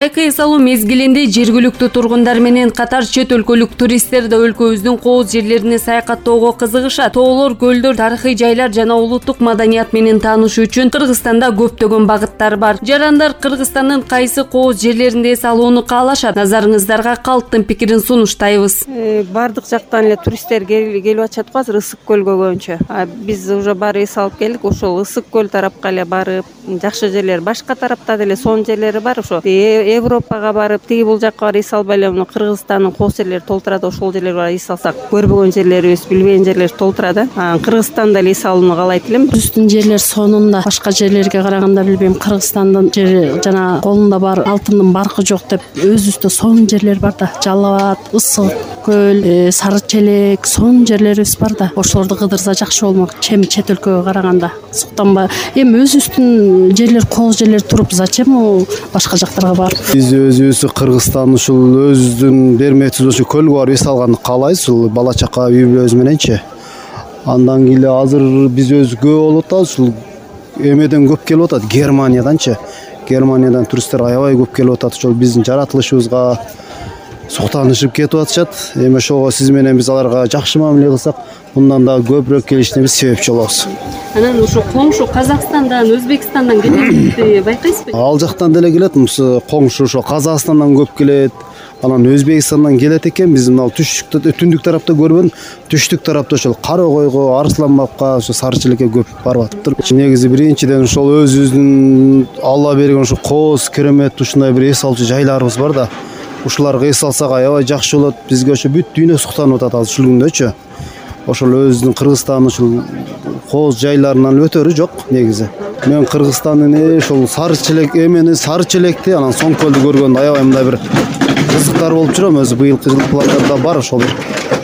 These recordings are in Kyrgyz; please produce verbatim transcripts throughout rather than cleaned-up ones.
Айкы эс алуу мезгилинде жергиликтүү тургундар менен катар чет өлкөлүк туристтер да өлкөбүздүн кооз жерлерине саякаттоого кызыгышат. Тоолор, көлдөр, тарыхый жайлар жана улуттук маданият менен таанышуу үчүн Кыргызстанда көптөгөн багыттар бар. Жарандар Кыргызстандын кайсы кооз жерлеринде эс алууну каалашат? Назарыңыздарга калктын пикирин сунуштайбыз. Э, бардык жактан эле туристтер келип атышат го азыр Ысык көлгө көбүнчө. Биз уже баары эс алып келдик. Ошол Ысык көл тарапка эле барып, жакшы жерлер, башка тарапта деле сонун жерлери бар. Ошо Европага барып, тиги бул жакка барып эс албай эле, муну Кыргызстандын кооз жерлери толтурат. Ошол жерлерге барып эс алсак, көрбөгөн жерлерибиз, билбеген жерлерибиз толтурат да. Кыргызстанда эле эс алууну каалайт элем. Үстүн жерлер сонунда, башка жерлерге караганда билбейм, Кыргызстандын жери жана колунда бар алтындын баркы жок деп өзүбүздө сонун жерлер бар да. Жалал Абад, Ысык көл, Сары Челек, сонун жерлерибиз бар да. Ошолорду кыдырса жакшы болмок, чем чет өлкөгө караганда. Суктанба, эми өзүбүздүн жерлер, кооз жерлер туруп, зачем у башка жактарга барып? Биз өзүбүз Кыргызстан ушул өзүбүздүн берметибиз ошо көлгө барып эс алганды каалайбыз, ушул бала чака үй бүлөбүз мененчи. Андан кийин азыр биз өзү көп болуп атабыз, ушул эмеден көп келип атат, Германияданчы. Германиядан туристтер аябай көп келип атат. Ошол биздин жаратылышыбызга суктанышып кетип атышат. Эми ошого сиз менен биз аларга жакшы мамиле кылсак, мындан да көбүрөөк келишине биз себепчи болобуз. Анан ошо коңшу Казакстандан, Өзбекстандан келетти, байкайсызбы? Ал жактан деле келет, коңшу ошо Казакстандан көп келет. Анан Өзбекстандан келет экен. Биз мына түштүктө, түндүк тарапта көрбөдүм. Түштүк тарапта ошол Каракойго, Арсланбабка, ошо Сары Челекке көп барып атыптыр. Негизи биринчиден ошол өзүбүздүн Алла берген ошо кооз, керемет ушундай бир эс алчу жайларыбыз бар да. Ушуларга эс алсак аябай жакшы болот. Бизге ошо бүт дүйнө суктанып атат азыр ушул күндөчү. Ошол өзүбүздүн Кыргызстандын ушул кооз жайларынан өтөрү жок негизи. Мен Кыргызстандын ошол Сары Челек эмени, Сары Челекти, анан Соң көлдү көргөндө аябай мындай бир кызыктар болуп жүрөм. Өзү быйылкы жылы пландарда бар ошол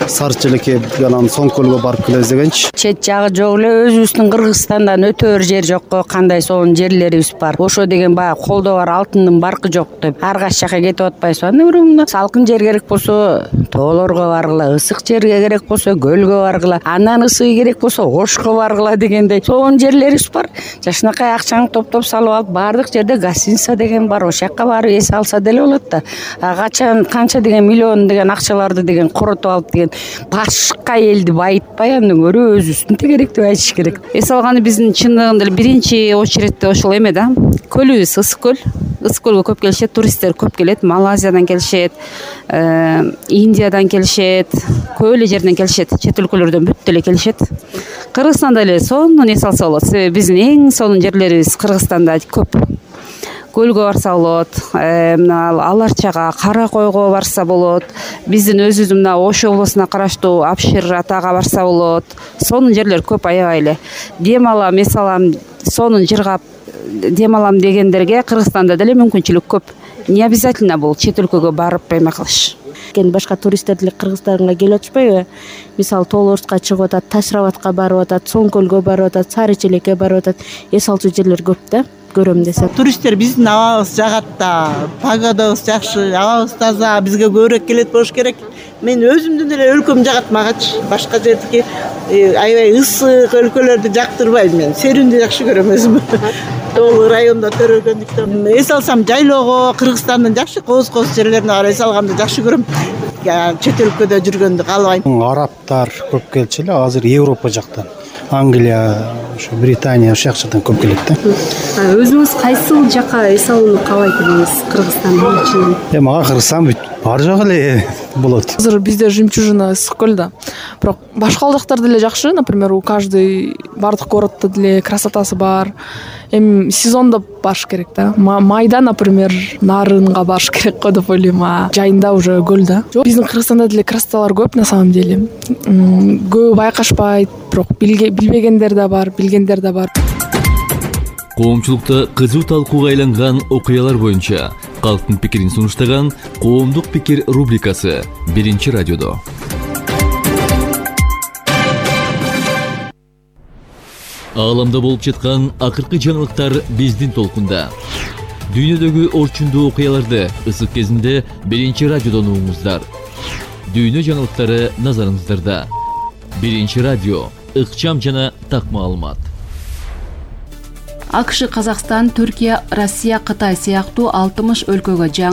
Сары Челекке, анан Соң көлгө барып келебиз дегенчи. Чет жагы жок эле, өзүбүздүн Кыргызстандан өтөр жер жокко, кандай сонун жерлерибиз бар. Ошо деген баягы колдо бар алтындын баркы жок деп ар кайсы жака кетип атпайсызбы? Анда бирок салкын жер керек болсо тоолорго баргыла, ысык жерге керек болсо көлгө баргыла, андан ысыгы керек болсо Ошко баргыла дегендей сонун жерлерибиз бар. Жакшынакай акчаңды топтоп салып алып, баардык жерде гостиница деген бар. Ошол жака барып эс алса деле болот да. Качан канча деген миллион деген акчаларды деген коротуп алып деген башка элди байытпай, андан көрө өзүбүздүн тегеректи айтыш керек. Эс алганы биздин чындыгында эле биринчи очередте ошол эме да. Көлүбүз Ысык көл. Ысык көлгө көп келишет, туристтер көп келет. Малайзиядан келишет, Индиядан келишет, көп эле жерден келишет, чет өлкөлөрдөн бүт эле келишет. Кыргызстанда эле сонун эс алса болот. Себеби биздин эң сонун жерлерибиз Кыргызстанда көп. Көлгө барса болот, Аларчага, Каракойго барса болот. Биздин өзүбүздүн мына Ош облусуна караштуу Абшир атага барса болот. Сонун жерлер көп аябай эле. Дем алам, эс алам, сонун жыргап дем алам дегендерге Кыргызстанда деле мүмкүнчүлүк көп. Не обязательно бул чет өлкөгө барып эме кылыш. Башка туристтер деле Кыргызстанга келип атышпайбы? Мисалы Тоолорска чыгып атат, Таш Рабатка барып атат, Соң көлгө барып атат, Сары Челекке барып атат. Эс алчу жерлер көп да. Көрөм десем. Туристтер биздин абабыз жагат да, погодабыз жакшы, абабыз таза, бизге көбүрөөк келет болуш керек. Мен өзүмдүн эле өлкөм жагат магачы. Башка жердики аябай ысык өлкөлөрдү жактырбайм мен. Серүүндү жакшы көрөм өзүм. Тоолуу райондо төрөгөндүктөн эс алсам жайлоого, Кыргызстандын жакшы кооз-кооз жерлерине барып эс алганды жакшы көрөм. Чет өлкөдө жүргөндү каалабайм. Арабтар көп келчү эле, азыр Европа жактан. Англия, ошо Британия ошол жактан көп келет да. Өзүңүз кайсыл жака эс алууну каалайт элеңиз Кыргызстандын ичинен? Э, мага Кыргызстан бүт бар жагы эле болот. Азыр бизде жемчужина Ысык көл да. Бирок башка жактар деле жакшы, например, у каждый бардык городдо деле красотасы бар. Эми сезондо барыш керек да. Майда, например, Нарынга барыш керек го деп ойлойм. Жайында уже көл да. Биздин Кыргызстанда деле красоталар көп на самом деле. Көп байкашпайт, бирок билбегендер да бар, билгендер да бар. Коомчулукта кызуу талкууга айланган окуялар боюнча калктын пикирин сунуштаган Коомдук пикир рубрикасы биринчи радиодо. Ааламда болуп жаткан акыркы жаңылыктар биздин толкунда. Дүйнөдөгү орчундуу окуяларды ысык кезинде биринчи радиодон угуңуздар. Дүйнө жаңылыктары назарыңыздарда. Биринчи радио, ыкчам жана так маалымат. акш, Казакстан, Түркия, Россия, Кытай сыяктуу алтымыш өлкөгө жаңы